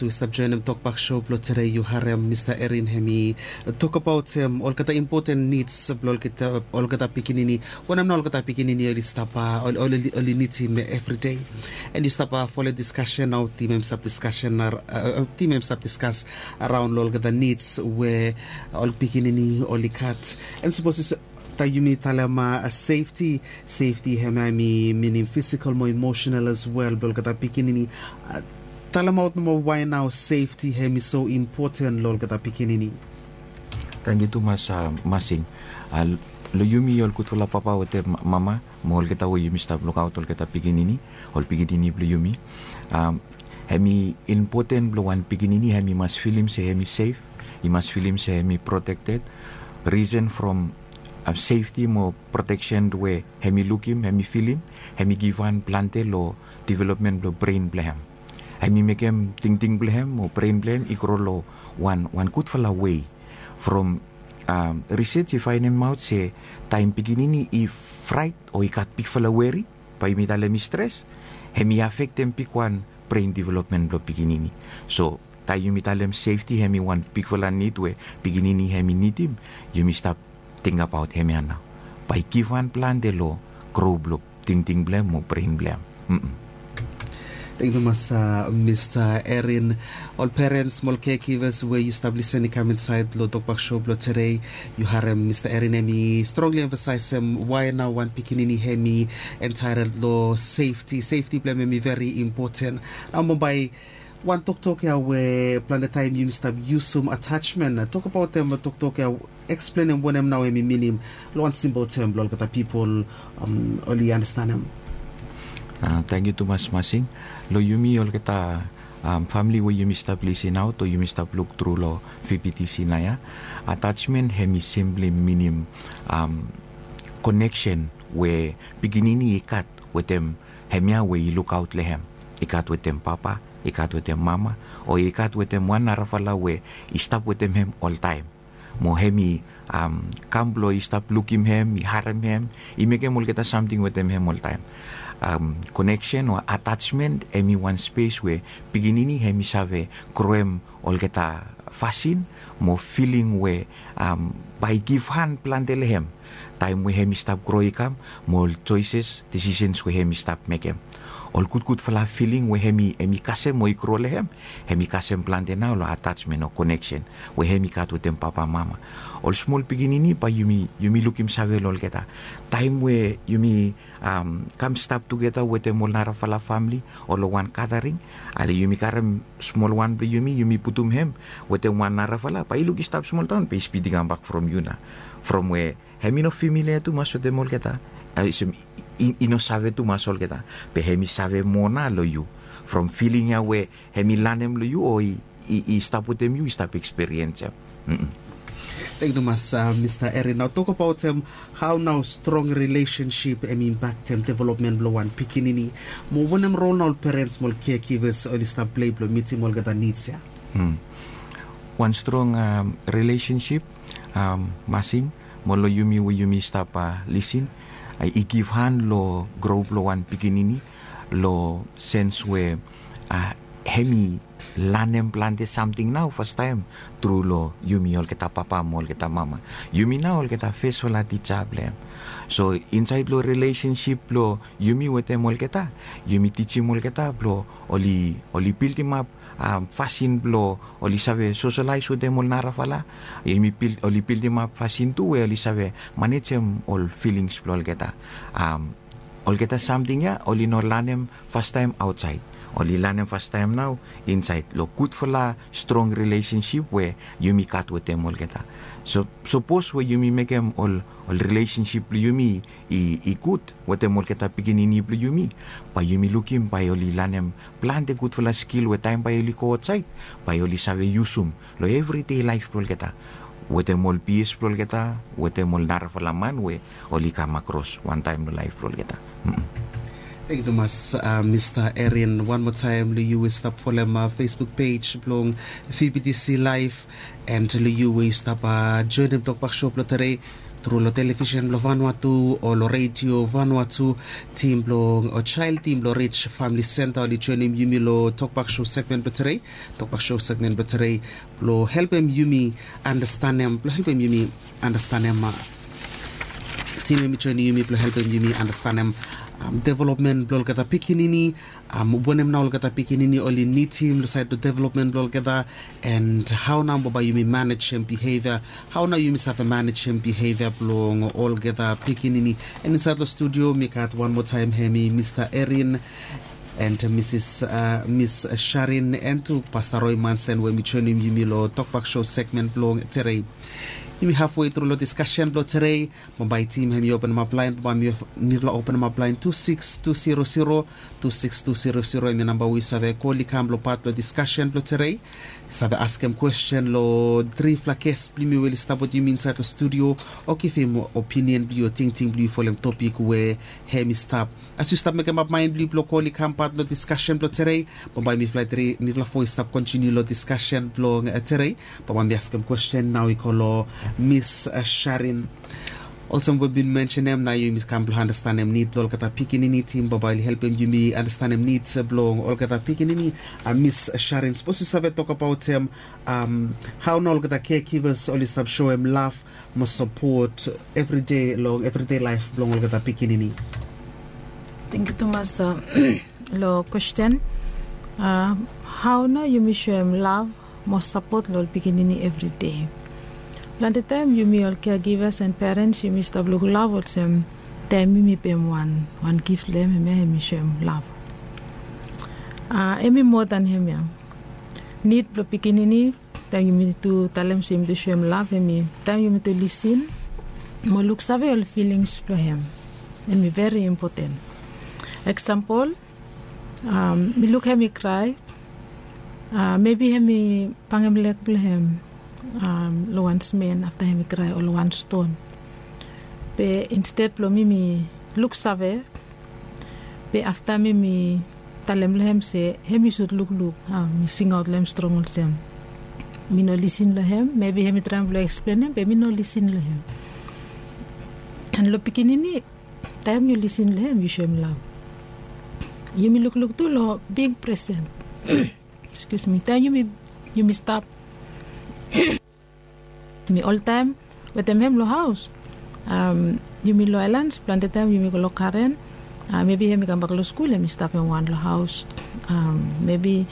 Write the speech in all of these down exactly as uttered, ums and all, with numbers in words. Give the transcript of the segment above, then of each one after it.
we stap joenem tokbak show blong tede, yu harem Mista Erin hem i tokbaot hem olgeta impoten nids blong olgeta pikinini. Wanem na olgeta pikinini oli stap oli nidim evridei. And yu stap folem diskasen nao, tim hem stap diskasen tim hem stap diskas araon long olgeta nids we ol pikinini oli gat. And sapos taem yumi talem sefti, sefti hem hem i minim fisikal mo emosenal as wel blong olgeta pikinini. Talemaot nomo wae nao sefti hem i so impoten long olgeta pikinini. Tangkiu tumas masing. Long yumi ol gudfala papa wetem mama mo olgeta we yumi stap lukaot olgeta pikinini, ol pikinini blong yumi, hem i impoten blong wan pikinini hem i mas filim se hem i sef, i mas filim se hem i protekted. Risen from sefti mo proteksen we hem i lukim, hem i filim, hem i givhan plante long developmen blong bren blong hem. Hem i mekem tingting blong hem o bren blong hem i gro long wan wan gudfala wei. From risej i faenemaot se taem pikinini i fraet o i gat bigfala weri, bae yumi talem i stres, hem i afektem bigwan bren developmen blong pikinini. So taem yumi talem sefti hem i wan bigfala nid we pikinini hem i nidim, yumi stap tingbaot hemia nao, bae i givhan plante long gro blong tingting blong hem o bren blong hem. Tangkiu tumas Mista Erin. Ol perens mo ol kekivas we yu stap lisen i kam insaed long tokbak show blong tede, yu harem Mista Erin hem i strongli emfasaesem wae nao wan pikinini hem i entaetol long sefti. Sefti blong hem hem i veri impoten. Nao mo bae wan toktok ya we plante taem yumi stap yusum atasmen, tokbaot hem toktok ya, eksplenem wanem nao hem i minim long wan simpol tem blong olgeta pipol oli andastanem. Tangkiu tumas masing. Long yumi olgeta famili we yumi stap lisinaot o yumi stap luktru long fibitisi nao ya, atasmen hem i simpli minim koneksen we pikinini i gat wetem hemia we i lukaot long hem. I gat wetem papa, i gat wetem mama, o i gat wetem wan narafala we i stap wetem hem oltaem. Mo hem i kam blong i stap lukim hem, i harem hem, i mekem olgeta samting wetem hem oltaem. Koneksen o atasmen hem i wan spes we pikinini hem i save groem olgeta fasin mo filing we bae i givhan plante long hem taem we hem i stap gro i kam, mo ol joeses, desisens we hem i stap mekem. Ol gudgudfala filing we hem i kasem o i gro long hem, hem i kasem plante nao long atasmen o koneksen we hem i gat wetem papa, mama. Ol smol pikinini bae yumi yumi lukim save long olgeta taem we yumi kam stap tugeta wetem ol narafala famili o long wan gadaring, ale yumi karem smol wan blong yumi, yumi putum hem wetem wan narafala, bae i luk i stap smoldaon, bae i spid i kambak from yu nao. From we hem i no fimilia tumas wetem olgeta, olsem i no save tumas olgeta, be hem i save moa nao long yu. From filing ya we hem i lanem long yu o i stap wetem yu, i stap ekspiriensem. Tangkiu tumas Mista Erin. Nao tokbaot hem hao nao strong rilesensip hem i impaktem developmen blong wan pikinini, mo wanem rol nao ol perens mo ol kekivas oli stap plei blong mitim olgeta nids ya. Wan strong rilesensip, masing, mo long yumi we yumi stap lisin, i givhan long gro blong wan pikinini long sens we hem i lanem plante samting nao fastaem tru long yumi olgeta papa mo olgeta mama. Yumi nao olgeta fesfala tija blong hem. So insaed long rilesensip blong yumi wetem olgeta, yumi tijim olgeta blong oli oli bildimap fasin blong oli save soselaes wetem ol narafala. Yumi bil oli bildimap fasin tu we oli save manejem ol filings blong olgeta. Olgeta samting ya oli no lanem fastaem aotsaed, oli lanem fastaem nao insaed long gudfala strong rilesensip we yumi gat wetem olgeta. So sapos we yumi mekem ol ol rilesensip blong yumi i gud wetem olgeta pikinini blong yumi, bae yumi lukim bae oli lanem plante gudfala skil we taem bae oli go aotsaed, bae oli save yusum long evridei laef blong olgeta, wetem ol bias blong olgeta, wetem ol narafala man we oli kam akros wantaem long laef blong olgeta. Tangkiu tumas Mista Erin. Wan moa taem long yu we stap folem Facebook pej blong V B T C Live, and long yu we yu stap joenem tokbak show blong tede, tru long televisen blong Vanuatu o long redio Vanuatu. Tim blong o jael tim blong Rich Famili Senta oli joinim yumi long Tokbak Show segmen blong tedei. Tokbak Show segmen blong tedei blong helpem yumi andastanem blong helpem yumi andastanem. Tim em i joinim yumi blong helpem yumi andastanem developmen blong olgeta pikinini. Wanem nao olgeta pikinini oli nidim long saed blong developmen blong olgeta, and hao nao bambae yumi manejem bihevia? Hao nao yumi save manejem bihevia blong olgeta pikinini? And insaed long studio mi gat wan moa taem hem i Mista Erin and Misis Mis Sharin and tu Pasta Roy Mansen we mi joinim yumi long Tokbak Show segmen blong tedei. Yumi hafwe tru long diskasen blong tedei. Bambae tim hem i openemap laen, bambae mifala openemap laen tu sikis tu siro siro. Tu sikis tu siro siro hem i namba we yu save kol i kam long pat blong diskasen blong tedei. Save askem kwesten long trifala ges blong yumi we oli stap wetem yumi insaed long studio, o givim opinion blong yu o tingting blong yu folem topik we hem i stap. As yu stap mekemap maen blong yu blong kol i kam pat long diskasen blong tedei, bambae mifala tri mifala fo i stap kontiniu long diskasen blong tedei. Bambae mi askem kwesten nao i go long Mis Sharin. Olsem we bin mensenem, nao yumi kam blong andastanem nid blong olgeta pikinini. Tim bambae oli helpem yumi andastanem nid blong olgeta pikinini. Mis Sharin, sapos yu save tokbaotem hao nao olgeta caregivers oli stap soem lav mo sapot evride long evride laef blong olgeta pikinini? Tangkiu tumas long kwesten. Hao nao yumi soem lav mo sapot long ol pikinini evride? Plante taem yumi ol caregivers and parents yumi stap luklaf olsem taem yumi pem wan wan gif long hem, hemia hem i soem lav. Hem i moa dan hemia. Nid blong pikinini, taem yumi tu talem se yumi tu soem lav, hem i taem yumi tu lisin mo luksave ol filings blong hem. Hem i veri impoten. Eksampol, mi luk hem i krae. Mebi hem i bangem leg blong hem long wan smen afta hem i krae o long wan ston. Be insted blong mi mi luksave, be afta mi mi talem long hem se hem i sud lukluk. Mi singaot long hem strong olsem mi no lisin long hem. Mebi hem i traem blong eksplenem be mi no lisin long hem. An long pikinini, taem yu lisin long hem yu soem lav. Yumi lukluk tu long bing presen. Ekskius mi, taem yumi yumi stap mi oltaem wetem hem long haos. Yumi long aelans plante taem yumi go long karen. Mebi hem i kambak long skul hem i stap hem wan long haos. Mebi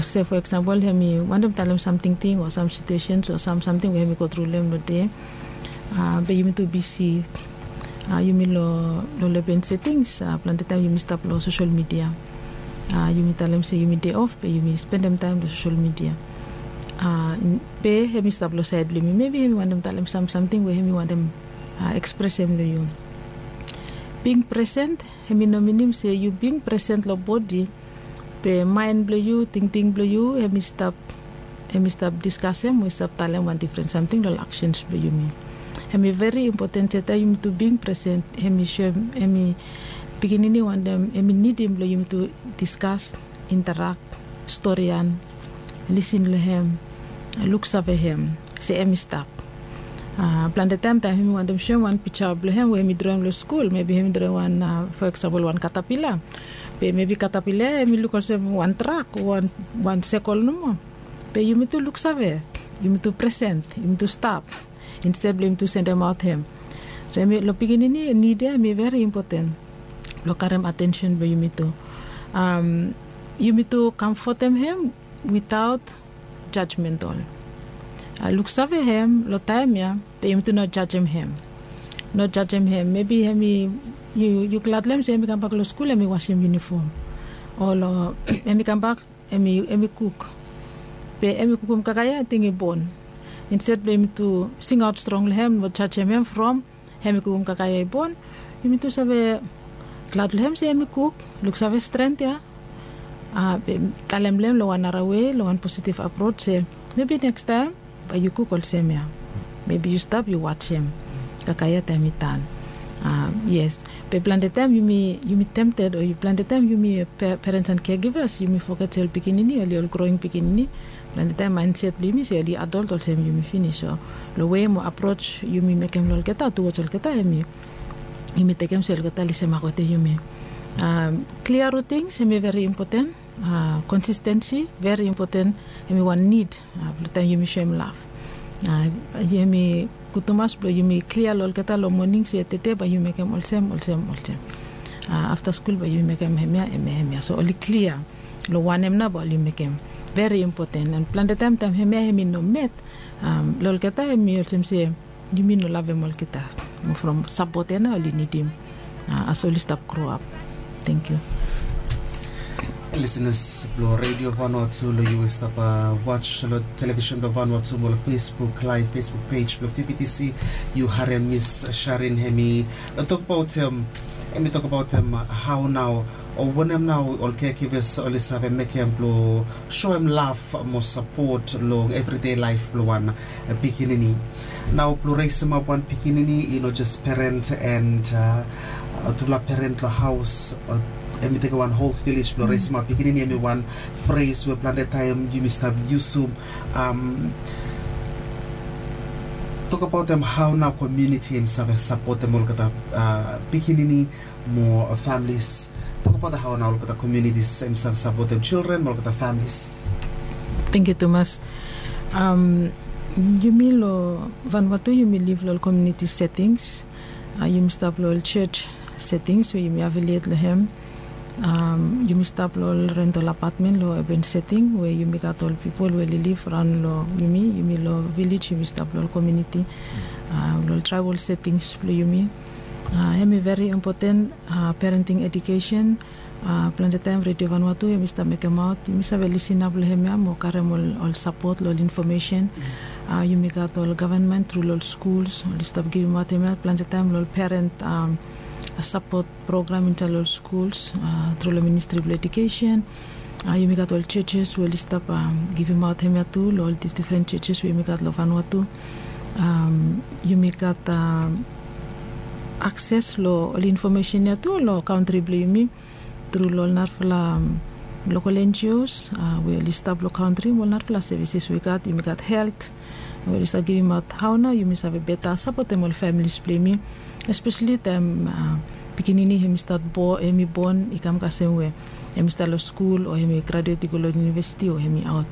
se fo eksampol hem i wantem talem sam tingting o sam situesens o sam samting we hem i gotru long hem long dei. Be yumi tu bisi. Yumi long long leben setings plante taem yumi stap long sosel midia. Yumi talem se yumi dei of be yumi spendem taem long sosel midia. Be hem i stap long saed blong yumi, mebi hem i wantem talem sam samting we hem i wantem ekspresem long yu. Bing presen hem i no minim se yu bing presen long bodi, be maen blong yu, tingting blong yu hem i stap hem i stap diskasem o i stap talem wan difren samting long aksens blong yumi. Hem i veri impoten se taem yumi tu bing presen hem i soem hem i pikinini wantem hem i nidim blong yumi tu diskas, interak, storian, lisin long hem, luksave hem se hem i stap. Plante taem taem hem i wantem soem wan pija blong hem we hem i droem long skul, mebi hem i droem wan fo eksampol wan katapila. Be mebi katapila hem i luk olsem wan trak o wan sekol nomo. Be yumi tu luksave, yumi tu presen, yumi tu stap insted blong yumi tu sendemaot hem. So hem i long pikinini nid ya hem i veri impoten blong karem atensen blong yumi tu. Yumi tu kamfotem hem witaot jajmentol. Luksave hem long taem ya, be yumi tu no jajem hem. No jajem hem. Mebi hem i yu glad long hem se hem i kambak long skul hem i wasem yunifom, o long hem i kambak hem i kuk. Be hem i kukum kakae ya ating i bon. Insted blong yumi tu singaot strong long hem mo jajem hem from hem i kukum kakae ya i bon, yumi tu save glad long hem se hem i kuk. Luksave stren ya. Be talem long hem long wan nara wei long wan positiv aprot se mebi nekstaem bae yu kuk olsem ya. Mebi yu stap yu wajem kakae ya taem i tan. Yes, be plante taem yumi tempted o plante taem yumi parents and caregivers yumi foget se ol pikinini oli ol growing pikinini. Plante taem mindset blong yumi se oli adult olsem yumi finis, so long wei mo approach yumi mekem long olgeta tuwoj olgeta hemi yumi tekem se olgeta oli semagote yumi. Klia rutings hemi veri impoten. Konsistensi veri impoten. Hemi wan nid blong taem yumi soem laf. Hemi gud tumas blong yumi klia long olgeta long moning se tede bae yumi mekem olsem olsem olsem. Afta skul bae yumi mekem hemia hemia hemia so oli klia long wanem nao bae oli mekem. Veri impoten an plante taem taem hemia hemi no met long olgeta hemi olsem se yumi no lavem olgeta. Mo from sapot ya nao oli nidim as oli stap gro ap. Tengkiu. Lisenas blong redio vanua tu long yu we stap was long televisen blong vanua tu mo long facebook laev facebook pej blong fibitisi, yu harem mis sharin hemi tokbaotem hemi tokbaotem hao nao o wanem nao ol kekives oli save mekem blong soem laf mo sapot long evride laef blong wan pikinini. Nao blong resemap wan pikinini i no jes peren and tufala peren long haos. Hemi tekem wan hol vilej blong resemap pikinini hemi wan fres we plante taem yumi stap yusum. Tokbaotem hao nao komiuniti hemi save sapotem olgeta pikinini mo familis. Tokbaot hao nao olgeta komiunitis hemi save sapotem jildren mo olgeta familis. Tengkiu tumas. Yumi long vanua tu yumi liv long ol komiuniti setings. Yumi stap long ol sios setings we yumi aviliet long hem. Yumi stap long ol rentol apatmen long epen seting we yumi gat ol pipol we oli liv raon long yumi yumi long vilej yumi stap long ol komiuniti long ol traebol setings blong yumi. Hemi veri impoten. Parenting edukesen. Plante taem redio vanua tu hemi stap mekemaot yumi save lisin ap long hemia mo karem ol sapot long ol infomesen. Yumi gat ol gavenmen tru long ol skuls oli stap givimaot hemia plante taem long ol peren sapot program insaed long ol skuls tru long ministri blong edukesen. Yumi gat ol sios we oli stap givimaot hemia tu long ol difdifren sios we yumi gat long vanua tu. Yumi gat akses long ol infomesen ya tu long kantri blong yumi tru long ol narafala lokal enjios we oli stap long kantri mo ol narafala sevises we i gat yumi gat helt we oli stap givimaot hao nao yumi save beta sapotem ol familis blong yumi. Espeseli taem pikinini hemi stat hemi bon i kam kasem we hemi stap long skul o hemi graduet i go long yunivesiti o hemi aot.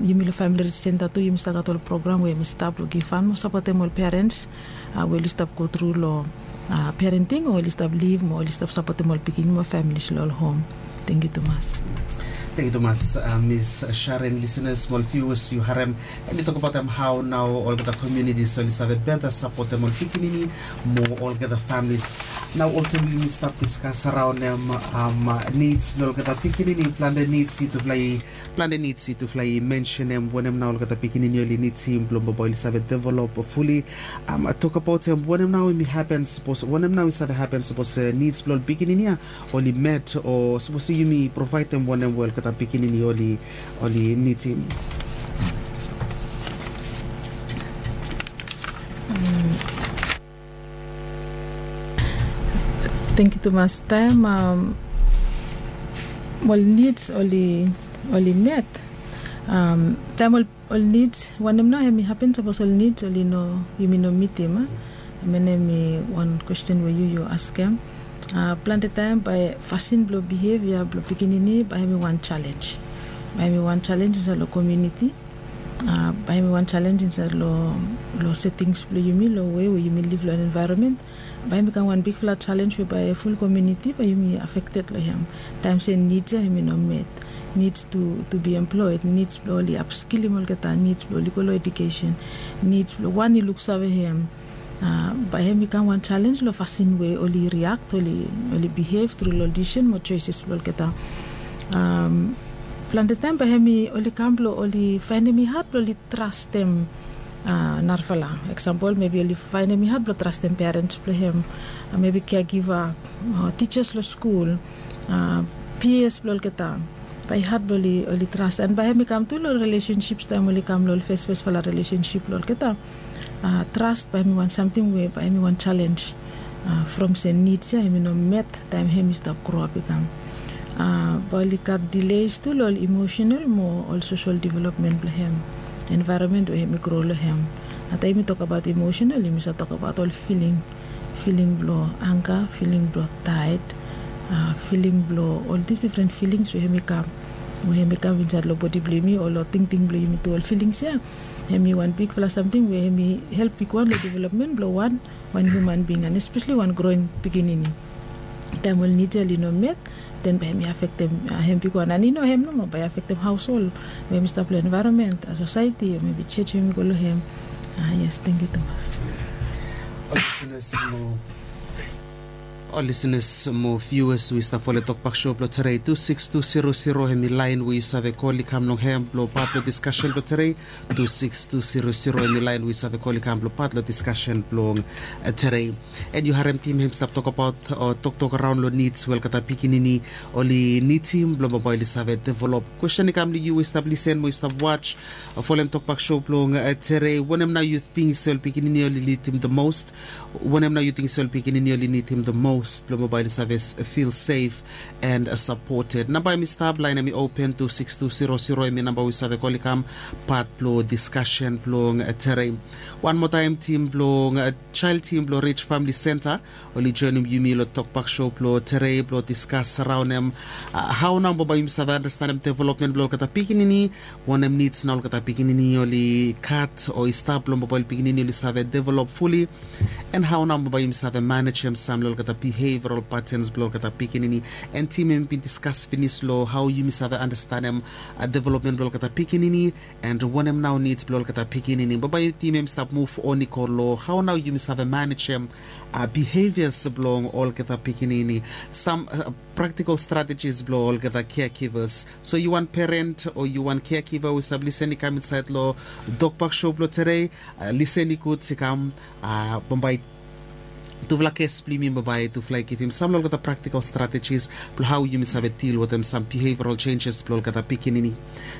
Yumi long famili rij senta tu yumi stap gat ol program we hemi stap long givhan mo sapotem ol perens we oli stap go tru long parenting o oli stap liv mo oli stap sapotem ol pikinini mo familis long ol hom. Tengkiu tumas. Tengkiu tumas. Mis sharen lisenas mo ol viuas yu harem hemi tokbaotem hao nao olgeta komiunitis oli save beta sapotem ol pikinini mo olgeta familis. Nao olsem we yumi stap diskas raonem nids blong olgeta pikinini plante nids yutufala i plante nids yutufala i mensenem wanem nao olgeta pikinini oli nidim blong bambae oli save develop fuli. Tokbaotem wanem nao hemi hapen sapos wanem nao i save hapen sapos nids blong ol pikinini ya oli met o sapos yumi provaedem wanem we olgeta pikinini oli nidim. Tengkiu tumas taem ol nids oli met taem ol nids wanem nao hemi hapen sapos ol nids oli no yumi no mitim a? Hemia nao hemi wan kwesten we yu yu askem. Plante taem bae fasin blong bihevia blong pikinini bae hemi wan jalenj. Bae hemi wan jalenj insaed long komiuniti. Bae hemi wan jalenj insaed long setings blong yumi long wei we yumi liv long envaeronmen. Bae hemi kam wan bigfala jalenj we bae ful komiuniti bae yumi afekted long hem. Taem se nids ya hemi no met. Nids tu bi emploed nids blong oli apskilim olgeta nids blong oli go long edukesen. Nids blong wan i luksave hem. Bae hem i kam wan jalenj long fasin we oli riakt oli bihev tru long ol disisen mo joeses blong olgeta. Plante taem bae hem i oli kam blong oli faenem i had blong oli trastem narafala eksampol mebi oli faenem i had blong trastem perens blong hem. Mebi keagiva, tijas long skul, pias blong olgeta. Bae i had blong oli tras an bae hem i kam tu long ol rilesensip taem oli kam long ol fesfesfala rilesensip blong olgeta. Tras bae hem i wan samting we bae hem i wan jalenj. From se nid ya hem i no met taem hem i stap groap i kam. Bae oli gat dileis tu long ol emosenal mo ol sosol developmen blong hem. Envaeronmen we hem i gro long hem. Na taem yumi tokabaot emosenal yumi save tokabaot ol filing, filing blong anga, filing blong taet, filing blong ol difdifren filings we hem i kam, we hem i kam insaed long bodi blong yumi o long tingting blong yumi tu ol filings ya. Hem i wan bigfala samting we hem i help bigwan long developmen blong wan wan hiuman bing an espesli wan groen pikinini. Taem ol nid ya oli no met, den bae hem i afektem hem bigwan an i no hem nomo bae i afektem haoshol we hem i stap long envaeronmen, sosaeti o mebi jej we hem i go long hem. Yes, tangkiu tumas. Ol lisenas mo viewers we i stap folem Tokbak Show blong tere, tu sikis tu siro siro hem i laen we yu save kol i kam long hem blong pat blong diskasen blong tere. Tu sikis tu siro siro hem i laen we yu save kol i kam blong pat long diskasen blong tere. An yu harem tim hem i stap tokbaot o toktok raon long nids we olgeta pikinini oli nidim blong bambae oli save develop. Kwesten i kam long yu we yu stap lisen mo yu stap waj o folem Tokbak Show blong tere, wanem nao yu ting se ol pikinini oli nidim the most? Wanem nao yu ting se ol pikinini oli nidim the most blong bambae oli save fil sef and sapoted? Namba hem i stap, laen hem i open, tu sikis tu siro siro hem i namba we yu save kol i kam pat blong diskasen blong tere. Wan moa taem, tim blong jael tim blong Rij Famili Senta oli joenem yumi long Tokbak Show blong tere blong diskas raon hem hao nao bambae yumi save andastanem developmen blong olgeta pikinini, wanem nids nao olgeta pikinini oli gat o i stap blong bambae ol pikinini oli save develop fuli, an hao nao bambae yumi save manejem sam long olgeta biheviral patens blong olgeta pikinini. An tim hem i bin diskas finis long hao yumi save andastanem developmen blong olgeta pikinini an wanem nao nids blong olgeta pikinini. Bambae tim hem i stap muv on i go long hao nao yumi save manejem bihevias blong olgeta pikinini. Sam praktikol stratejis blong olgeta caregivers. So yu wan peren o yu wan caregiver we yu save lisen i kam insaed long Tokbak Show blong tere, lisen i gud i kam, bambae tufala ges blong yumi bambae tufala i givim sam long olgeta praktikol stratejis blong hao yumi save dil wetem sam biheviral jenjes blong olgeta pikinini.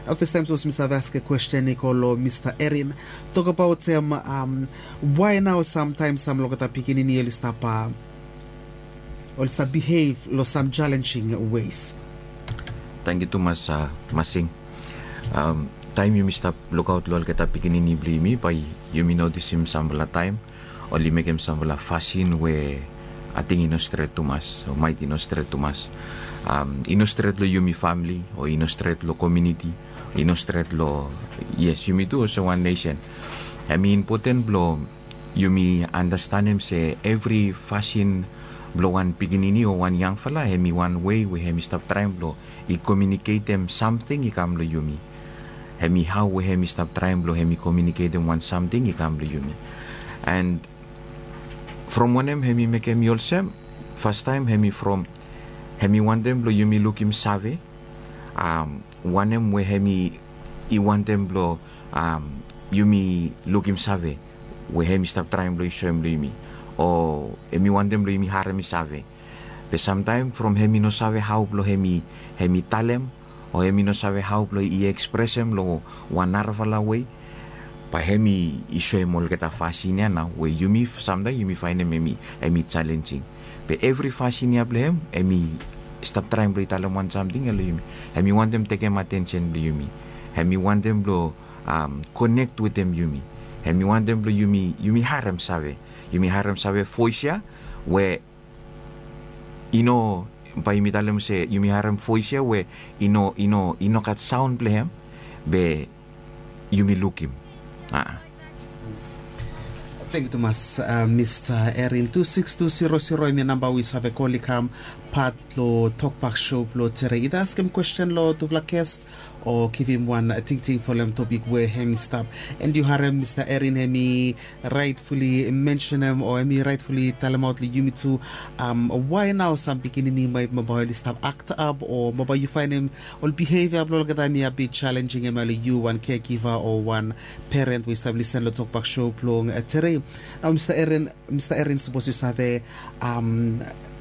Nao fastaem sapos mi save askem kwesten i go long Mista Erin, tokbaot hem, wae nao samtaem sam long olgeta pikinini oli stap oli stap bihev long sam jalenjing wes. Tangkiu tumas, Masing. Taem yumi stap lukaot long olgeta pikinini blong yumi bae yumi notisim samfala taem oli mekem samfala fasin we ating i no stret tumas o maet i no stret tumas. I no stret long yumi famili o i no stret long komuniti, i no stret long, yes, yumi tu olsem wan nesen. Hem i impoten blong yumi andastanem se evri fasin blong wan pikinini o wan yangfala hem i wan wei we hem i stap traem blong i komiuniketem samting i kam long yumi. Hem i hao we hem i stap traem blong hem i komiuniketem wan samting i kam long yumi. An from wanem hem i mekem i olsem? Fastaem hem i from hem i wantem blong yumi lukim save wanem we hem i wantem blong yumi lukim save we hem i stap traem blong i soem long yumi, o hem i wantem blong yumi harem i save. Be samtaem from hem i no save hao blong hem i talem o hem i no save hao blong i ekspresem long wan narafala wei, bae hem i soem olgeta fasin ya nao we yumi samtaem yumi faenem hem i jalenjing. Be evri fasin ya blong hem hem i stap traem blong i talem wan samting ya long yumi. Hem i wantem tekem atensen blong yumi. Hem i wantem blong konek wetem yumi. Hem i wantem blong yumi harem save, yumi harem save voes ya we i no, bae yumi talem se yumi harem voes ya we i no, i no, i no gat saon blong hem, be yumi lukim. Tangkiu tumas, Mista Erin. Tu sikis tu siro siro hem i namba we yu save kol i kam pat long Tokbak Show blong tere, ida askem kwesten long tufala ges o givim wan tingting folem topik we hem i stap. An yu harem Mista Erin hem i raetfuli mensenem o hem i raetfuli talemaot long yumi tu, wae nao sam pikinini maet bambae oli stap aktap o bambae yu faenem ol bihevia blong olgeta hem i a bit jalenjing hem ya long yu wan kegiva o wan peren we yu stap lisen long Tokbak Show blong tere. Nao Mista Erin, Mista Erin, sapos yu save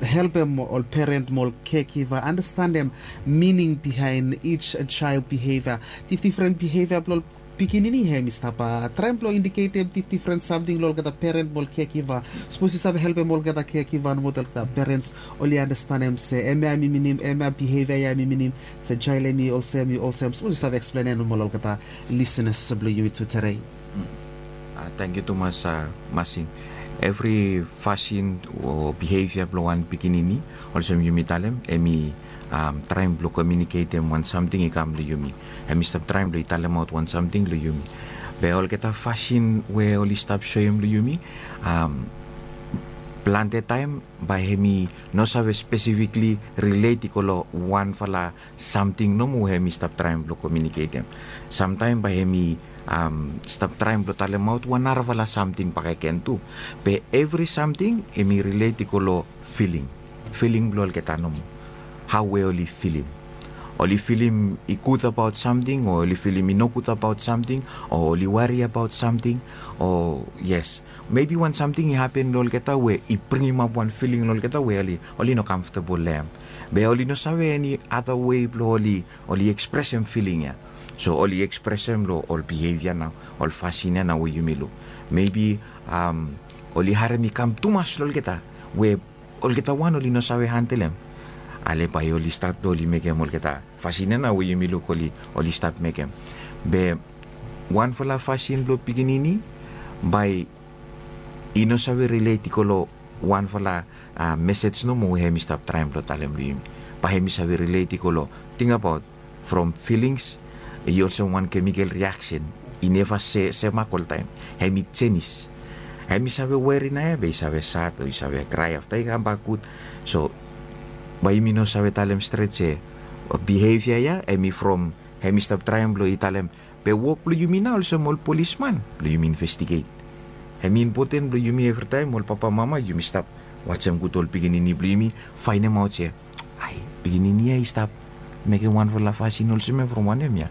helpem ol peren mo ol kegiva andastanem mining bihaen each jael bihevia, difdifren bihevia blong ol pikinini hem i stap traem blong indiketem difdifren samting long olgeta peren mo ol kekiva. Sapos yu save helpem olgeta kekiva nomo olgeta perens oli anastenem se hemia hem i minim, hemia bihevia ya hem i minim se jael hem i olsem i olsem. Sapos yu save eksplenem nomo long olgeta lisenas blong yumi tuderei. Tangkiu tumas masing. Evri fasin o bihevia blong wan pikinini, olsem yumi talem, hem i traem blong komiuniketem wan samting i kam long yumi. Hem i stap traem blong i talemaot wan samting long yumi. Be olgeta fasin we oli stap soem long yumi, plante taem bae hem i no save spesifikli rilet i go long wanfala samting nomo we hem i stap traem blong komiuniketem. Samtaem bae hem i stap traem blong talemaot wan narafala samting bakegen tu. Be evri samting hem i rilet i go long filing, filing blong olgeta nomo. Hao we oli filim, oli filim i gud abaot samting o oli filim i nogud abaot samting o oli wari abaot samting. O yes, mebi wan samting i hapen long olgeta we i bringimap wan filing long olgeta we oli no kamftabol long hem. Be oli no save eni ada wei blong oli ekspresem filing ya. So oli ekspresem long ol bihevia nao, ol fasin ya nao we yumi luk. Mebi oli harem i kam tumas long olgeta we olgeta wan oli no save handelem. Ale bae oli stat blong oli mekem olgeta fasin ya nao we yumi luk oli oli stap mekem. Be wanfala fasin blong pikinini bae i no save rilet i go long wanfala mesej nomo we hem i stap traem blong talem long yumi. Bae hem i save rilet i go long, tingabaot, from filings i olsem wan kemikel riaksen. I neva semak oltaem. Hem i jenis. Hem i save weri nao ya be i save sad o i save krae afta i kambak gud. So bae yumi no save talem stret se bihevia ya hem i from hem i stap traem blong i talem. Be wok blong yumi nao olsem ol polisman blong yumi investiget. Hem i impoten blong yumi evritaem ol papamama yumi stap wajem gud ol pikinini blong yumi faenemaot se, ai, pikinini ya i stap mekem wanfala fasin olsem ya from wanem ya?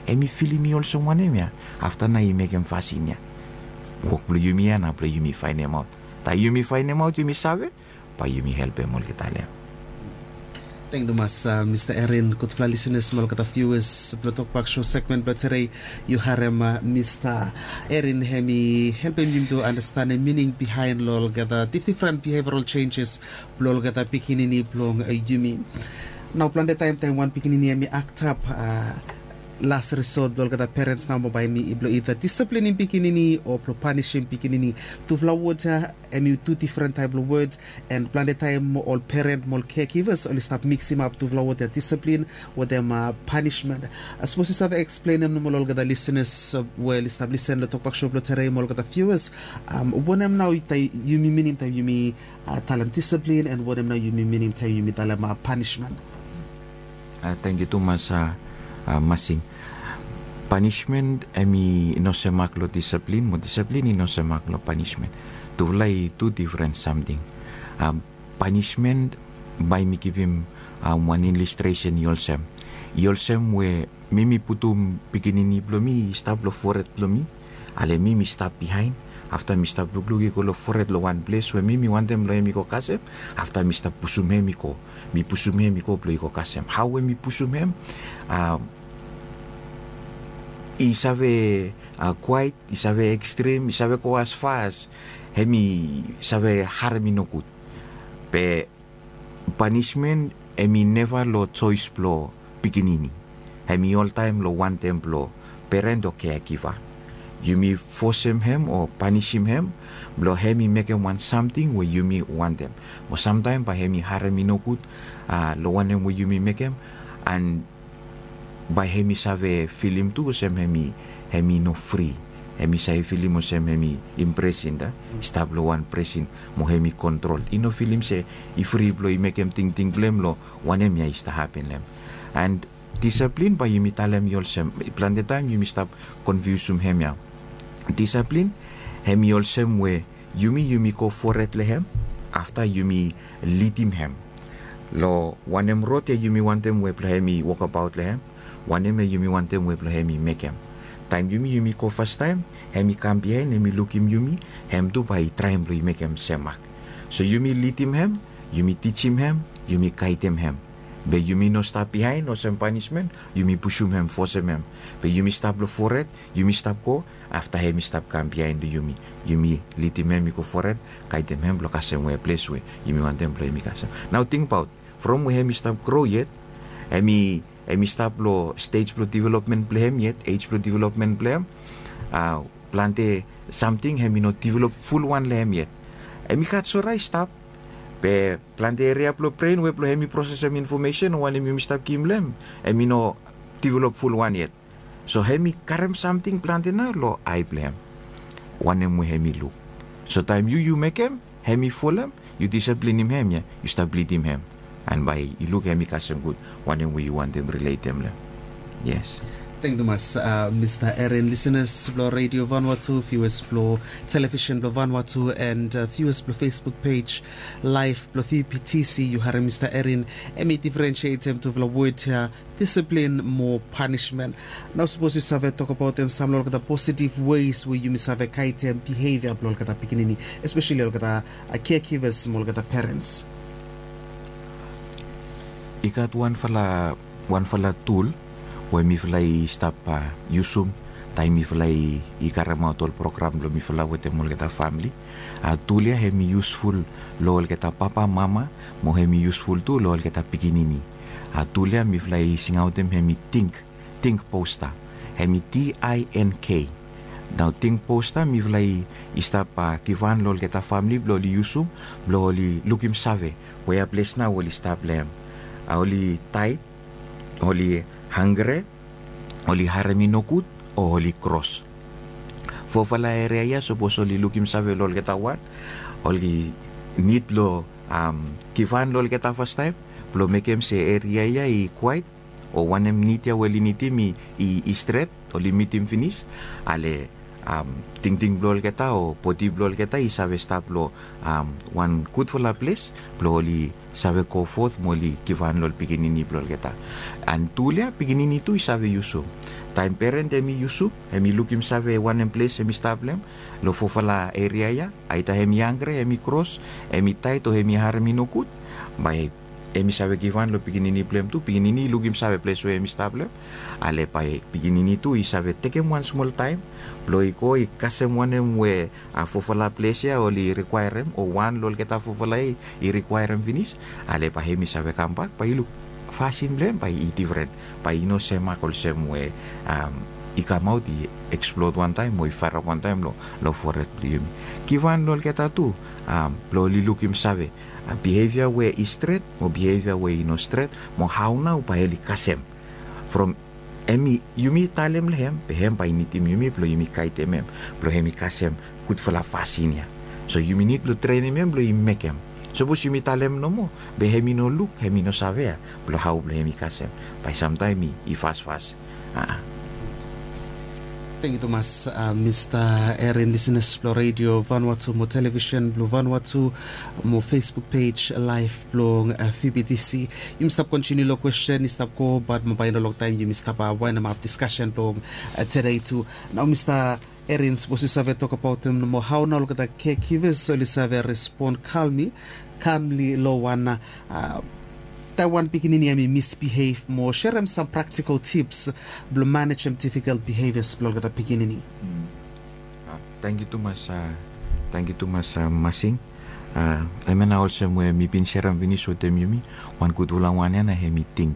Hem i filim i olsem wanem ya afta nao i mekem fasin ya? Wok blong yumi ya nao blong yumi faenemaot. Taem yumi faenemaot yumi save, bae yumi helpem olgeta long hem. Tangkiu tumas mista Erin. Gudfala lisenas mo olgeta viuas blong Tokbak Show segmen blong tedei. Yu harem mista Erin hem i helpem yumi tu anastenem mining bihaen long olgeta difdifren biheviaral jenjes blong olgeta pikinini blong yumi. Nao plante taem taem wan pikinini hem i aktap, las risot blong olgeta perens nao mo bae hem i blong ida disiplinim pikinini o blong panisim pikinini. Tufala wod ya hem i tu difren taep blong wod. An plante taem ol peren mo ol kekivas oli stap miksimap tufala wod ya, disiplin wetem panismen. Sapos yu save eksplenem nomo long olgeta lisenas we oli stap lisen long Tokbak Show blong tedei mo olgeta viuas, wanem nao yumi minim taem yumi talem disiplin, an wanem nao yumi minim taem yumi talem panismen? Tangkiu tumas masing. Panismen hem i no semak long disiplin mo disiplin i no semak long panismen. Tufala i tu difren samting. Panismen, bae mi givim wan ilistresen i olsem, i olsem we mi mi putum pikinini blong mi i stap long fored blong mi. Ale mi mi stap bihaen. Afta mi stap lukluk i go long fored long wan ples we mi mi wantem blong hem i go kasem. Afta mi stap pusum hem i go. Mi pusum hem i go blong i go kasem. Hao we mi pusum hem, i save kwaet, i save ekstrem, i save go as fas hem i save harem i nogud. Be panismen hem i neva long joes blong pikinini. Hem i oltaem long wantem blong peren o keagiva. Yumi fosem hem o panisim hem blong hem i mekem wan samting we yumi wantem. Mo samtaem bae hem i harem i nogud long wanem we yumi mekem. An bae hem i save filim tu olsem hem i no fri. Hem i save filim olsem hem i impresin, i stap long wan presin mo hem i kontrol. I no filim se i fri blong i mekem tingting blong hem long wanem ya i stap hapen long hem. An disiplin bae yumi talem i olsem, plante taem yumi stap konfiusum hem ya. Disiplin hem i olsem we yumi yumi go fored long hem. Afta yumi lidim hem long wanem rod ya yumi wantem we blong hem i wokabaot long hem. Wanem ya yumi wantem we blong hem i mekem. Taem yumi yumi go fastaem, hem i kam biaen hem i lukim yumi. Hem tu bae i traem blong i mekem semak. So yumi lidim hem, yumi tijim hem, yumi gaedem hem. Be yumi no stap bihaen olsem panismen, yumi pusum hem, fosem hem. Be yumi stap long fored, yumi stap go, afta hem i stap kam bihaen long yumi. Yumi lidim hem i go fored, gaedem hem blong kasem we ples we yumi wantem blong hem i kasem. Nao tingbaot, from we hem i stap gro yet, hem i hem i stap long stej blong developmen blong hem yet, ej blong developmen blong hem, a, plante samting hem i no develop fulwan long hem yet. Hem i gat sora i stap, be plante eria blong bren we blong hem i prosesem infomesen o wanem yumi stap givim long hem, hem i no develop fulwan yet. So hem i karem samting plante nao long ae blong hem, wanem we hem i luk. So taem yu yu mekem, hem i folem, yu disiplinim hem ya, yu stap lidim hem, an bae i luk hem i kasem gud wanem we yu wantem riletem long hem. Yes. Tangkiu tumas, Mista Erin. Lisenas blong Redio Vanuatu, viuas blong televisen blong Vanuatu, an viuas blong Facebook pej laev blong V P T C, yu harem Mista Erin hem i diferensietem tufala wod ya, disiplin mo panismen. Nao sapos yu save tokbaotem sam long olgeta positiv weis we yumi save gaedem bihevia blong olgeta pikinini, espeseli olgeta caregivers mo olgeta perens. I gat wanfala wanfala tul we mifala i stap yusum taem mifala i karemaot ol program blong mifala wetem olgeta famili. A, tul ya hem i yusful long olgeta papa, mama, mo hem i yusful tu long olgeta pikinini. A, tul ya mifala i singaotem hem i tink, tink posta. Hem i T I N K. Nao tink posta mifala i stap givhan long olgeta famili blong oli yusum blong oli lukim save wea ples nao oli stap long hem. A, oli taet, oli hangre, oli harem i nogud, o oli kros. Fofala eria ya sapos oli lukim save long olgeta wan, oli nid blong givhan long olgeta fastaem blong mekem se eria ya i kwaet, o wanem nid ya we oli nidim i stret, oli mitim finis, ale tingting blong olgeta o bodi blong olgeta i save stap long wan gudfala ples blong oli save go fot mo oli givhan long ol pikinini blong olgeta. An tul ya pikinini tu i save yusum. Taem peren hem i yusum, hem i lukim save wanem ples hem i stap long hem long fofala eria ya, aeda hem i hangre, hem i kros, hem i taet o hem i harem i nogud, bae hem i save givhan long pikinini blong hem tu, pikinini i lukim save ples we hem i stap long hem. Ale bae pikinini tu i save tekem wan smol taem blong i go i kasem wanem we a fofala ples ya oli rikwaerem o wan long olgeta fofala ya i rikwaerem finis. Ale bae hem i save kambak bae i luk fasin blong hem bae i difren, bae i no semak olsem we i kamaot i eksplod wantaem o i faerap wantaem long fored blong yumi. Givhan long olgeta tu blong oli lukim save bihevia we i stret mo bihevia we i no stret, mo hao nao bae oli kasem. From hem i, yumi talem long hem, be hem bae i nidim yumi blong yumi gaedem hem blong hem i kasem gudfala fasin ya. So yumi nid blong trenem hem blong i mekem. Sapos yumi talem nomo be hem i no luk, hem i no save ya blong hao blong hem i kasem, bae samtaem i fasfas. Tangkiu tumas, Mista Erin. Lisenas blong Redio Vanuatu mo televisen blong Vanuatu mo Facebook pej laev blong V B T C, yumi stap kontiniu long kwesten i stap go, bat mo bae i no longtaem yumi stap waenemap diskasen blong tede tu. Nao Mista Erin, sapos yu save tokbaotem nomo hao nao olgeta caregivers oli save respon kalmli, kalmli long wan taem wan pikinini hem i misbihev, mo serem sam praktikol tips blong manejem difikol bihevias blong olgeta pikinini. Tangkiu tumas, tangkiu tumas Masing. Hemia nao olsem we mi bin serem finis wetem yumi, wan gudfala wan ya nao hem i ting.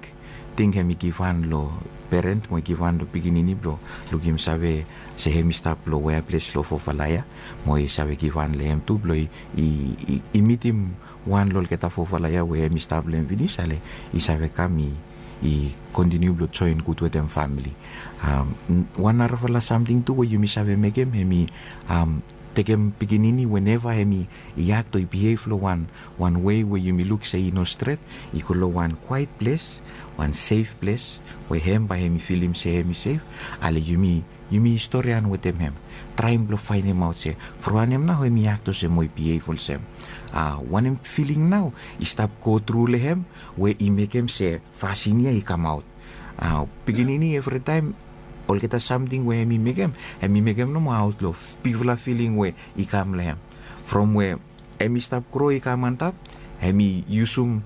Ting hem i givhan long peren mo i givhan long pikinini blong lukim save se hem i stap long wea ples long fofala ya, mo i save givhan long hem tu blong i mitim wan long olgeta fofala ya we hem i stap long hem finis, ale i save kam i kontiniu blong joen gud wetem famili. Wan narafala samting tu we yumi save mekem hem i tekem pikinini weneva hem i akto i bihev long wan wan wei we yumi luk se i no stret, i go long wan kwaet ples, wan sef ples we hem bae hem i filim se hem i sef. Ale yumi yumi storian wetem hem, traem blong faenemaot se from wanem nao hem i akto olsem o i bihev olsem. Wanem filing nao i stap gotru long hem we i mekem se fasin ya i kamaot. Pikinini evritaem olgeta samting we hem i mekem, hem i mekem nomo aot long bigfala filing we i kam long hem. From we hem i stap gro i kam antap, hem i yusum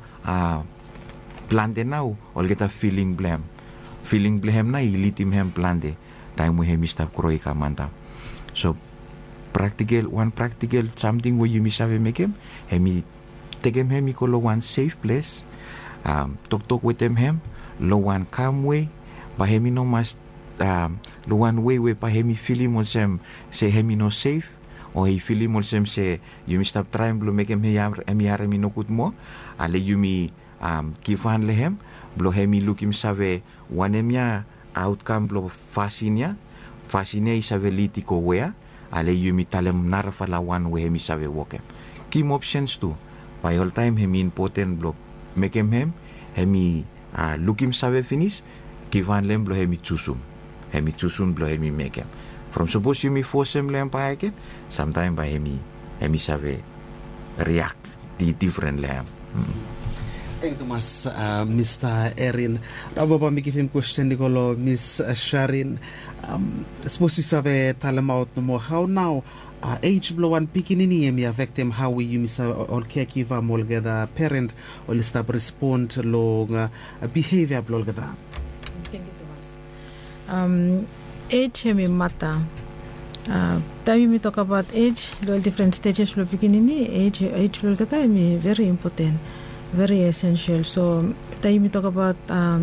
plante nao olgeta filing blong hem. Filing blong hem nao i lidim hem plante taem we hem i stap gro i kam antap. So praktikel wan praktikel samting we yumi save mekem, hem i tekem hem i go long wan sef ples, toktok wetem hem long wan kam wei, bae hem i no mas long wan wei we bae hem i filim olsem se hem i no sef, o hem i filim olsem se yumi stap traem blong mekem hem i harem i nogud moa. Ale yumi givhan long hem blong hem i lukim save wanem ya aotkam blong fasin ya. Fasin ya i save lid i go wea, ale yumi talem narafala wan we hem i save wokem. Givim opsens tu, bae oltaem hem i impoten blong mekem hem hem i lukim save finis, givhan long hem blong hem i jusum, hem i jusum blong hem i mekem. From sapos yumi fosem long hem bakegen, samtaem bae hem i save riak difren long hem. Tengkiu tumas, mista Erin. Nao bae mi givim kwesten i go long mis Sharin. Sapos yu save talemaot nomo hao nao ej blong wan pikinini hem i afektem hao we yumi save ol kekiva mo olgeta peren oli stap respon long bihevia blong olgeta. Ej hem i mata. Taem yumi tokabaot ej long ol difren stejes blong pikinini, ej blong olgeta hem i veri impoten, veri esensel. So taem yumi tokabaot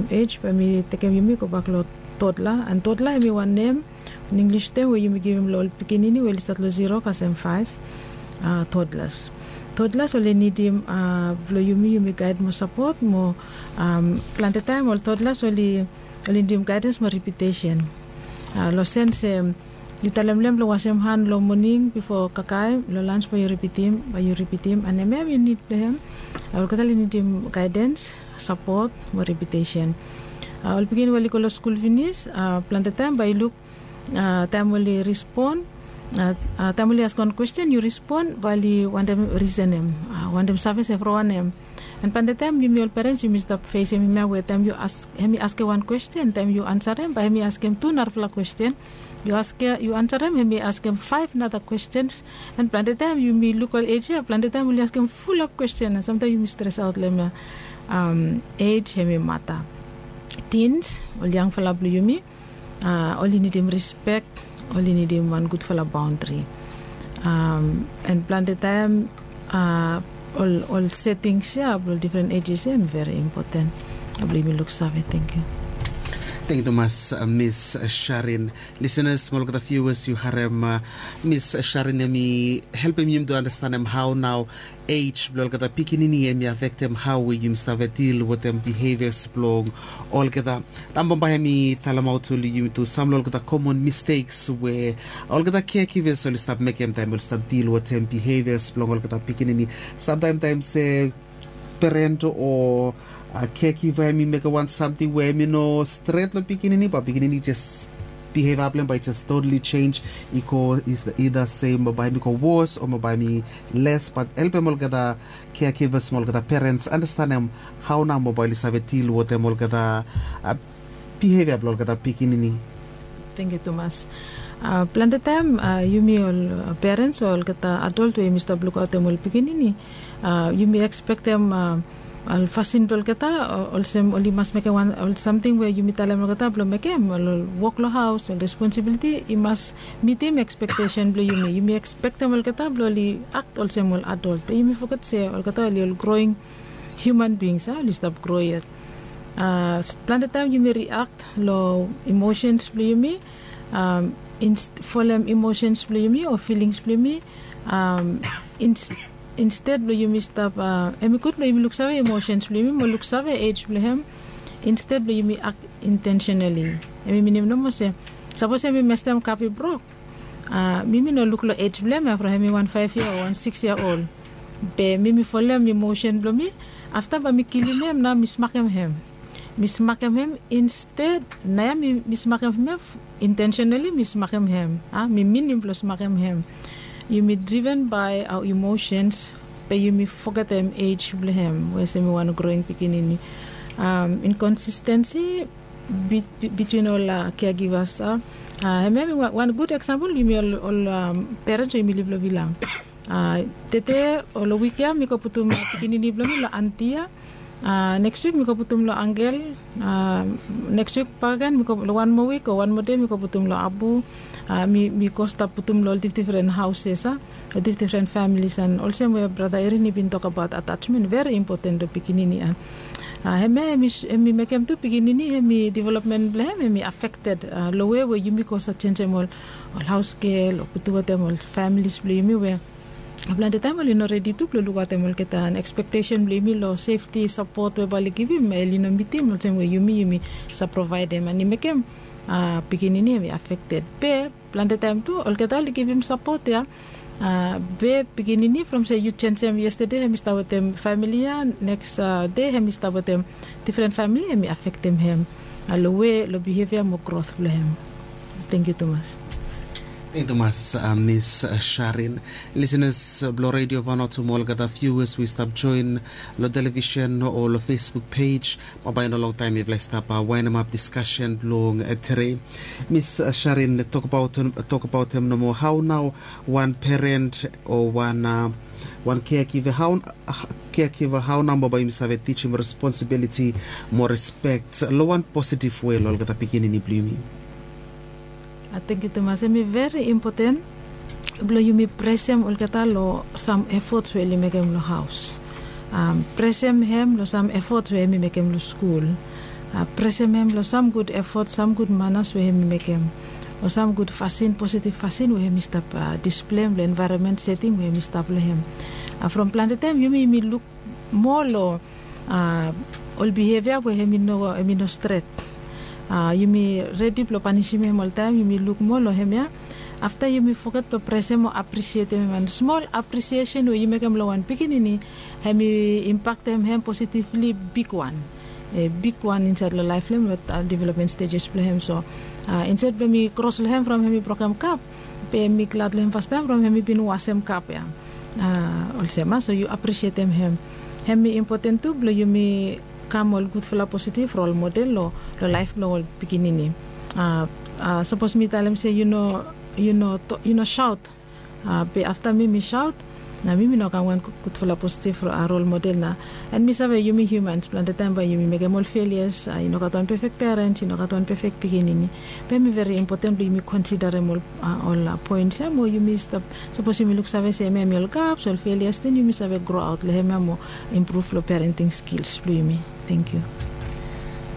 ej, bae mi tekem yumi gobak long totla. An totla hem i wan nem, wan Inglis tem we yumi givim long ol pikinini we oli stat long zero kasem faef. Totlas, totlas oli nidim blong yumi yumi gaed mo sapot mo plante taem ol totlas oli nidim gaedens mo ripitesen. Long sens se yu talem long hem blong wasem han long moning bifo kakae, long lans bae yu ripitim, bae yu ripitim, an hemia hem i nid blong hem. Olgeta oli nidim gaedens, sapot mo ripitesen. Ol pikinini we oli go long skul finis, plante taem bae yu luk taem oli rispon, taem oli askem wan kwesten yu rispon, bae oli wantem risenem, wantem save se from wanem. An plante taem yumi ol perens yumi stap fesem hemia we taem yu as hem i askem wan kwesten, taem yu ansarem bae hem i askem tu narafala kwesten. Yu ansarem hem i askem faef nara kwestens. An plante taem yumi luk ol ej ya, plante taem oli askem fulap kwesten, an samtaem yumi stresaot long hemia. Ej hem i mata. Tins, ol yangfala blong yumi, oli nidim rispek, oli nidim wan gudfala baondri. An plante taem ol setings ya blong ol difren ejes ya hem i veri impoten blong yumi luksave. Tengkiu. Tengkiu tumas, mis Sharin. Lisenas mo olgeta viuas, yu harem mis Sharin hem i helpem yumi tu andastanem hao nao ej blong olgeta pikinini hem i afektem hao we yumi save dil wetem bihevias blong olgeta. Nao bambae hem i talemaot long yumi tu sam long olgeta komon misteks we olgeta kekives oli stap mekem taem oli stap dil wetem bihevias blong olgeta pikinini. Samtaem taem se peren o kekiva hem i mekem wan samting we hem i no stret long pikinini, bae pikinini jes bihevia blong hem bae i jes totali jenj, i go ida sem, bae hem i go wos o bae hem i les. Bat helpem olgeta kekivas mo olgeta perens andastanem hao nao bae oli save dil wetem olgeta bihevia blong olgeta pikinini. Tengkiu tumas. Plante taem yumi ol perens o olgeta adol we yumi stap lukaotem ol pikinini, yumi ekspektem ol fasin blong olgeta olsem oli mas mekem wan ol samting we yumi talem olgeta blong mekem, ol wok long haos, ol responsibiliti i mas mitim ekspektesen blong yumi. Yumi ekspektem olgeta blong oli akt olsem ol adol, be yumi foget se olgeta oli ol groing hiuman bings, oli stap gro yet. Plante taem yumi riakt long imosens blong yumi, folem imosens blong yumi o filings blong yumi. Insted blong yumi stap, hem i gud blong yumi luksave imosens blong yumi mo luksave ej blong hem. Insted blong yumi akt intensenali, hem i minim nomo se sapos hem i mestem kap i brok, mi mi no luk long ej blong hem ya from hem i wan faef yia o wan sikis yia ol. Be mi mi folem imosen blong mi, afta bae mi kilim hem nao mi smakem hem. Mi smakem hem insted, nao ya mi smakem hem intensenali, mi smakem hem. Mi minim blong smakem hem. Yumi driven bae aoa imosens, be yumi fogetem ej blong hem we se hem i wan groing pikinini. Inkonsistensi bitwin ol kegivas. Hemia hem i wan gud eksampol, yumi ol perens we yumi liv long vila. Tede o long wik ya mi go putum pikinini blong mi long anti ya. Neks wik mi go putum long Angel. Neks wik bak gen mi go long wan moa wik o wan moa dei mi go putum long Abu. Mi go stap putum long ol difdifren haus ya, ol difdifren familis, an olsem we brata Erin i bin tokabaot, atasmen veri impoten long pikinini ya. Hemia hem i mekem tu pikinini hem i developmen blong hem hem i afekted long we we yumi go save jenjem ol haus gel o putum wetem ol familis blong yumi we plante taem oli no redi tu blong lukaotem olgeta an ekspektesen blong yumi long sefti sapot we bae oli givim, oli no mitim olsem we yumi yumi save provaedem, an i mekem pikinini hem i afekted. Be plante taem tu olgeta oli givim sapot ya. Be pikinini from se yu jenjem yestede hem i stap wetem famili ya, neks dei hem i stap wetem difren famili, hem i afektem hem long we long bihevia mo grot blong hem. Tengkiu tumas. Tengkiu tumas, Miss Sharin. Lisenas blong Redio Vanuatu mo olgeta viuas we i stap joen long televisen o long Facebook pej, bambae i no longtaem yufala i stap waenemap diskasen blong tede. Miss Sharin, tokbaot hem nomo, hao nao wan peren o wan wan keagiva, hao nao bambae yumi save tijim responsibiliti mo respek long wan positiv we long olgeta pikinini blong yumi? Tengkiu tumas. Hem i veri impoten blong yumi presem olgeta long sam efot we oli mekem long haos. Presem hem long sam efot we hem i mekem long skul. Presem hem long sam gud efot, sam gud manas we hem i mekem, o sam gud fasin, positiv fasin we hem i stap displeim long envaeronmen seting we hem i stap long hem. From plante taem yumi yumi luk moa long ol bihevia we hem i no stret. Yumi redi blong panisim hem oltaem, yumi luk moa long hemia. Afta yumi foget blong presem o aprisietem hem, an smol aprisiesen we yu mekem long wan pikinini hem i impaktem hem positivli bigwan, bigwan insaed long laef blong hem, long developmen stejes blong hem. So insaed blong hem i kros long hem from hem i brokem kap, be hem i glad long hem fastaem from hem i bin wasem kap ya. Olsem a so yu aprisietem hem. Hem i impoten tu blong yumi kam ol gudfala positiv rol model long laef blong ol pikinini. Sapos mi talem se yu no saot, be afta mi mi saot, na mi mi no kam wan gudfala positiv rol model na. An mi save yumi hiumans plante taem bae yumi mekem ol felias. I no gat wan pefek perens, i no gat wan pefek pikinini. Be hem i veri impoten blong yumi konsidarem ol poens ya mo yumi stap, sapos yumi luksave se hemia hem i ol gaps, ol felias, den yumi save groaot long hemia mo impruv long perenting skils blong yumi. Tengkiu.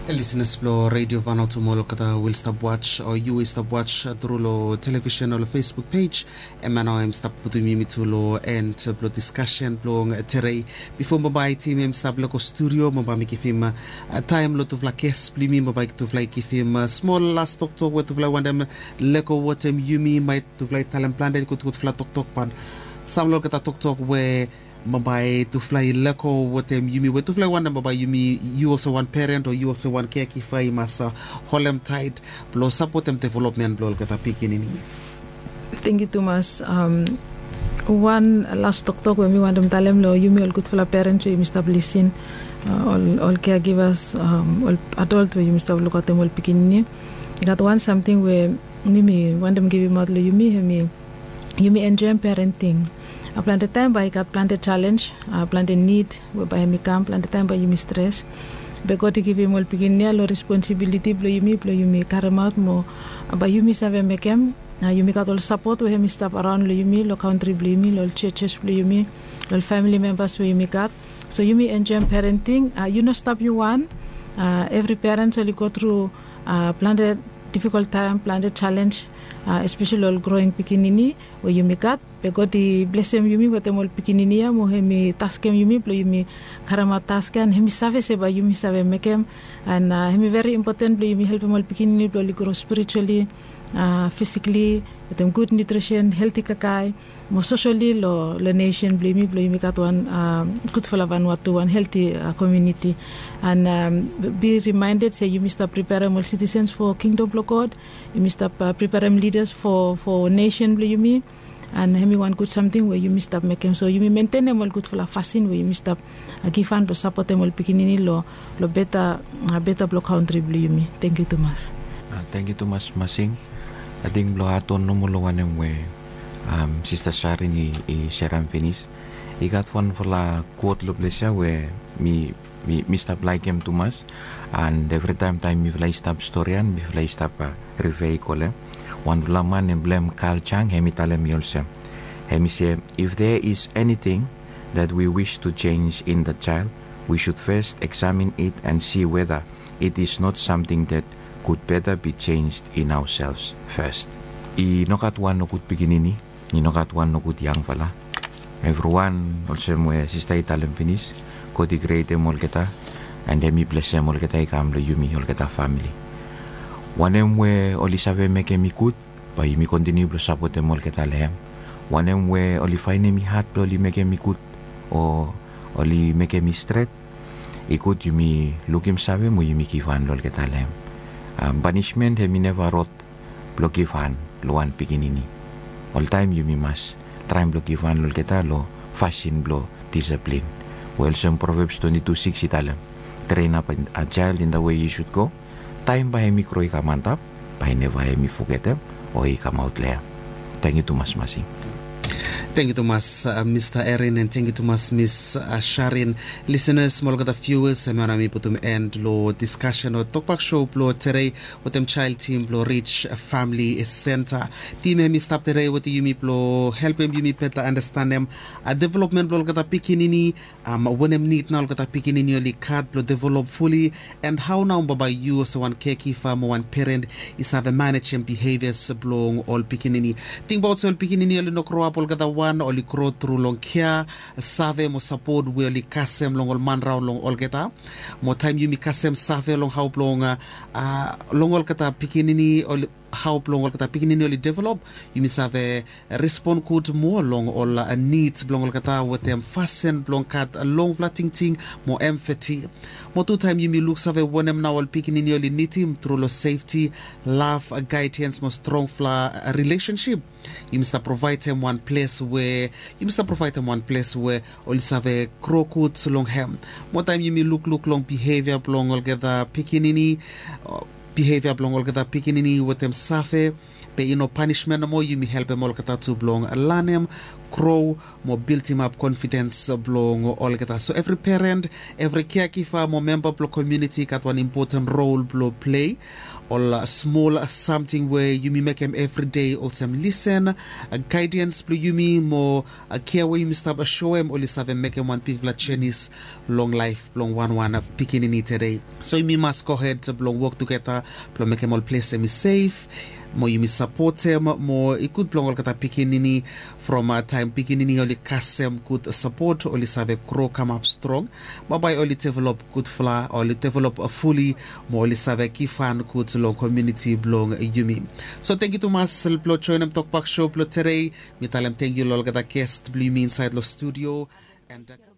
Lisenas blong Redio Vanuatu mo olgeta we oli stap was o yu we i stap was tru long televisen o long Facebook pej. Hemia nao hem i stap putum yumi tu long en blong diskasen blong tede. Bifo bambae tim hem i stap lego studio, bambae mi givim taem long tufala ges blong yumi, bambae tufala i givim smol las toktok we tufala i wantem lego wetem yumi, bae tufala i talem plante gudgudfala toktok, bat sam long olgeta toktok we bambae tufala i lego wetem yumi, we tufala i wantem bambae yumi, yu olsem wan peren o yu olsem wan keagiva i mas holem taet blong sapotem developmen blong olgeta pikinini. Tengkiu tumas. Wan las toktok we mi wantem talem long yumi ol gudfala perens we yumi stap lisin, ol keagivas, ol adolt we yumi stap lukaotem ol pikinini. I gat wan samting we mi mi wantem givimaot long yumi, hem i yumi enjoem perenting. Plante taem bae i gat plante jalenj, plante nid we bae hem i kam, plante taem bae yumi stres. Be God i givim ol pikinini ya long responsibiliti blong yumi blong yumi karemaot mo bae yumi save mekem. Yumi gat ol sapot we hem i stap araon long yumi, long kantri blong yumi, long ol jejes blong yumi, long ol famili membas we yumi gat. So yumi enjoem perenting. Yu no stap yu wan. Evri perens oli go tru plante difikol taem, plante jalenj, espeseli ol groing pikinini we yumi gat. Be God i blesem yumi wetem ol pikinini ya mo hem i taskem yumi blong yumi karemaot task ya, an hem i save se bae yumi save mekem. An hem i veri impoten blong yumi helpem ol pikinini blong oli gro spirijuali, fisikli, wetem gud nutrisen, helti kakae, mo sosoli long nesen blong yumi, blong yumi gat wan gudfala Vanuatu, wan helti komuniti. An bi rimaended se yumi stap priperem ol sitisens fo kingdom blong God. Yumi stap priperem lidas fo nesen blong yumi. An hem i wan gud samting we yumi stap mekem, so yumi mentenem ol gudfala fasin we yumi stap givhan blong sapotem ol pikinini long beta, beta blong kantri blong yumi. Tangkiu tumas. Tangkiu tumas Masing. Ating blong adon nomo long wanem we Sista Sharin i serem finis, i gat wanfala kot long ples ya we mi Mi, mi stap laikim tumas. And evritaem taem mifala i stap storian, mifala i stap uh, rifea i kolem. Wanfala man em blem Carl Jung, hem i talem mi olsem. Hem i se, if there is anything that we wish to change in the child, we should first examine it and see whether it is not something that could better be changed in ourselves first. I nogat wan nogud pikinini, i nogat wan nogud yangfala. Evriwan, olsem we sista i talem finis, God i krietem olgeta, and hem i blesem olgeta i kam long yumi olgeta famili. Wanem we oli save mekem i gud, bae yumi kontiniu blong sapotem olgeta long hem. Wanem we oli faenem i had blong oli mekem i gud, o oli mekem i stret, i gud yumi lukim save mo yumi givhan long olgeta long hem. Panismen hem i neva rot blong givhan long wan pikinini. Oltaem yumi mas traem blong givhan long olgeta long fasin blong disaplin. We olsem Proverbs twenty-two six i talem, train up a child in the way he should go, taem bae hem i gro i kam antap, bae neva hem i fogetem o i kamaot long hem. Tangkiu tumas Masi. Tangkiu tumas uh, Mista Erin, and tangkiu tumas Miss uh, Sharin. Listeners mo olgeta viewers, hemia nao mi putum end long diskasen o tokbak show blong tedei wetem jael tim blong Rich Famili Senta. Tim hem i stap tedei wetem yumi blong helpem yumi beta andastanem uh, developmen blong olgeta pikinini, um, wanem nid nao olgeta pikinini oli gat blong develop fuli, and hao nao bambae yu olsem wan caregiver mo wan peren i save manejem bihevias blong ol pikinini. Tingbaot se ol pikinini oli no groap olgeta wan, oli gro tru long kea, save mo sapot we oli kasem long ol man raon long olgeta. Mo taem yumi kasem save long hao blong uh, uh, long olgeta pikinini oli hao blong olgeta pikinini oli develop, yumi save respon gud moa long ol uh, nids blong olgeta wetem fasin blong gat uh, longfala tingting mo empati. Mo tu taem yumi luksave wanem nao ol pikinini oli nidim tru long sefti, lav, uh, gaedians mo strongfala uh, rilesensip, yumi stap provaedem wan ples we yumi stap provaedem wan ples we oli save gro gud long hem. Mo taem yumi lukluk long bihevia blong olgeta pikinini, uh, bihevia blong olgeta pikinini wetem save, be i no panismen nomo, yumi helpem olgeta tu blong lanem, gro mo bildimap konfidens blong olgeta. So evri peren, evri caregiver mo memba blong komuniti i gat wan impoten rol blong plei. Ol uh, smol uh, samting we yumi mekem evri dei olsem lisen, uh, gaedians blong yumi mo uh, kea we yumi stap uh, soem oli save mekem wan bigfala jenis long laef blong wanwan uh, pikinini tedei. So yumi mas gohed blong wok tugeta blong mekem ol ples hem i sef, mo yumi sapotem mo i gud blong olgeta pikinini. From uh, taem pikinini oli kasem gud sapot, oli save gro kamap strong. Bambae oli develop gudfala, oli develop uh, fuli, mo oli save givhan gud long komuniti blong yumi. So tangkiu tumas blong joenem tokbak show blong tedei. Mi talem tangkiu long olgeta gest blong yumi insaed long studio. And uh,